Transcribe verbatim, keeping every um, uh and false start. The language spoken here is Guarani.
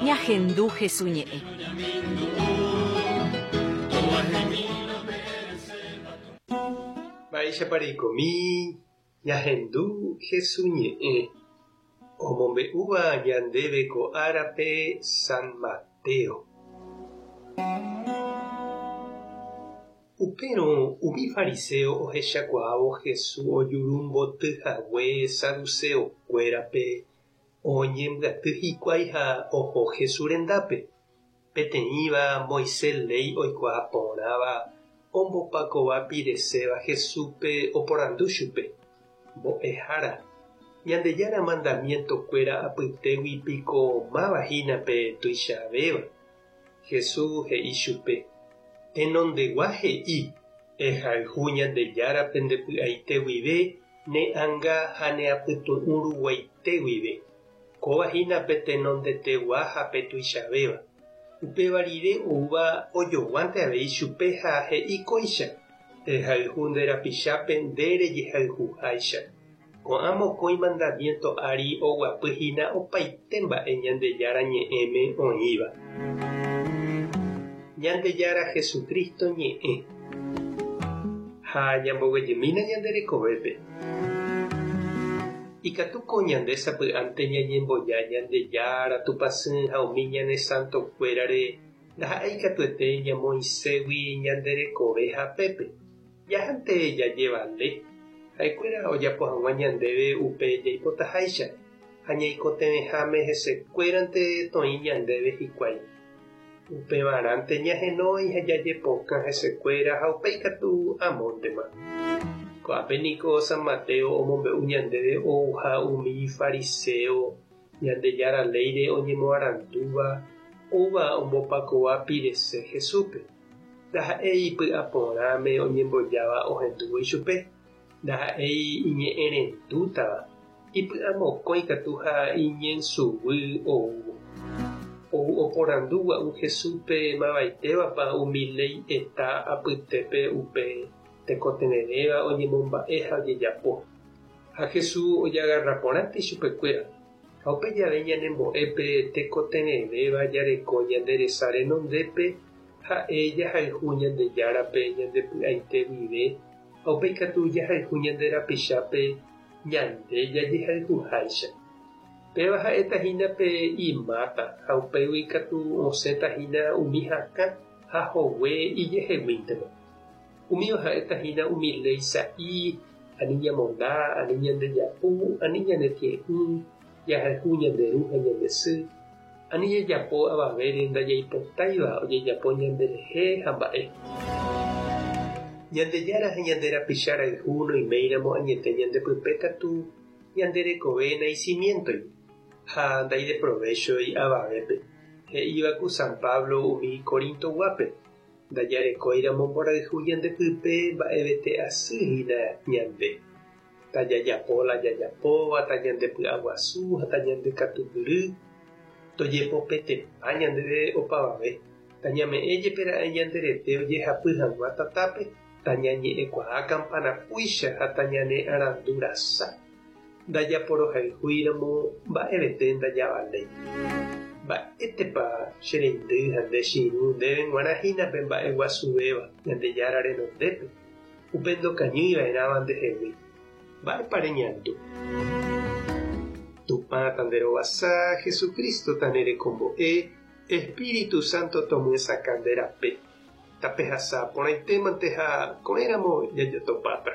Ñahendu Hesu ñe'ẽ. Mba'éichapa reikomi ñahendu Hesu ñe'ẽ omombe'úva ñandéve ko árape San Mateo. Upérõ umi fariseo ohechakuaávo Jesús ojurumbotyhague saduceokuérape oñembyaty hikuái ha oho Jesús rendápe. Peteĩva Moisés léi oikuaa porãva ombopakova pireséva Jesúspe oporandu chupe. Mbo'ehára, Ñandejára mandamientokuéra apytégui piko máva hínape tuichavéva. Jesús he'i chupe: Tenondegua he'i, ehayhu Ñandejárape ndepy'aite guive, ne ánga ha ne apytu'ũ ruguaite guive. Kóva hínape tenondetegua ha pe tuichavéva. Upéva rire oúva ojoguánte avei chupe ha he'i kóicha: ehayhu nde rapichápe nde rejehayhuháicha. Ko'ã mokõi mandamiento ári oguapy hína opaite mba'e Ñandejára ñe'ẽme oĩva. Ñandejára Jesucristo ñe'ẽ. Ha ñamboguejymína ñande rekovépe. Ikatúko ñande sapy'ánte ñañemboja Ñandejára Tupãsy ha umi ñane santokuérare ndaha'éi katuete ñamoĩségui ñande rekove hapépe. Jahánte jajevale. Ha'ekuéra ojapo hag̃ua ñandéve upe jaipotaháicha ha ñaikotevẽháme hesekuérante toĩ ñandéve hikuái. Upevarãnte ñahenói ha jajepokã hesekuéra ha upéi katu amóntema. Ko'ápe niko San Mateo omombe'u ñandéve ouha umi fariseo Ñandejára léire oñemoarandúva oúva ombopakova pirese Jesúspe. Ndaha'éi ipy'aporãme oñembojáva ohendúvo ichupe. Ndaha'éi iñe'ẽrendútava. Ipy'amokõi katu ha iñensuguy oúvo. Ou oporandu gua'u Jesúspe mavaitévapa umi léi eta apytépe upe tekotevẽvéva oñemomba'e ha ojejapo. Ha Jesús ojagarraporãnte ichupekuéra. Ha upe jave ñanembo'épe tekotevẽvéva jareko ñande resa renondépe ha'e jahayhu Ñandejárape ñandepy'aite guive ha upéi katu jahayhu ñande rapichápe ñande jajehayhuháicha. Péva ha'éta hína pe imáta ha upégui katu osẽta hína umi hakã ha hogue ijeheguíntema. Umíva ha'éta hína umi léi sa'i, ani ñamonda, ani ñandejapu, ani ñanetie'ỹ, jahayhu ñande ru ha ñande sy, ani jajapo avavére ndajaipotáiva ojejapo ñanderehe ha mba'e. Ñandejára ha ñande rapicha rayhu noiméiramo añete ñandepype katu ñande rekove naicimientoi ha ndaideprovéchoi avavépe. He'íva ku San Pablo umi Corintoguápe. Ndajarekóiramo mborayhu ñandepype mba'evete asy hína ñande. Tajajapo la jajapóva, tañandepy'aguasu ha tañandekatupyry, tojepopetepa ñandéve opavave. Tañame'ẽ jepera'e ñanderete ojehapy hag̃ua tatápe, tañañe'ẽkuaa kampanapúicha ha tañane'arandurasa. Ndajaporohayhúiramo mba'evete ndajavaléi. Mba'étepa che reindy ha nde che irũ ndéve g̃uarã hínape mba'eguasuvéva Ñandejára renondépe. Upe ndokañýiva'erãva ndehegui. Mba'épa reñandu. Tupã tanderovasa, Jesucristo tanerekombo'e, Espíritu Santo tomyesakã nde rape. Tapehasa porãitémante ha ko'ẽramo jajotopáta.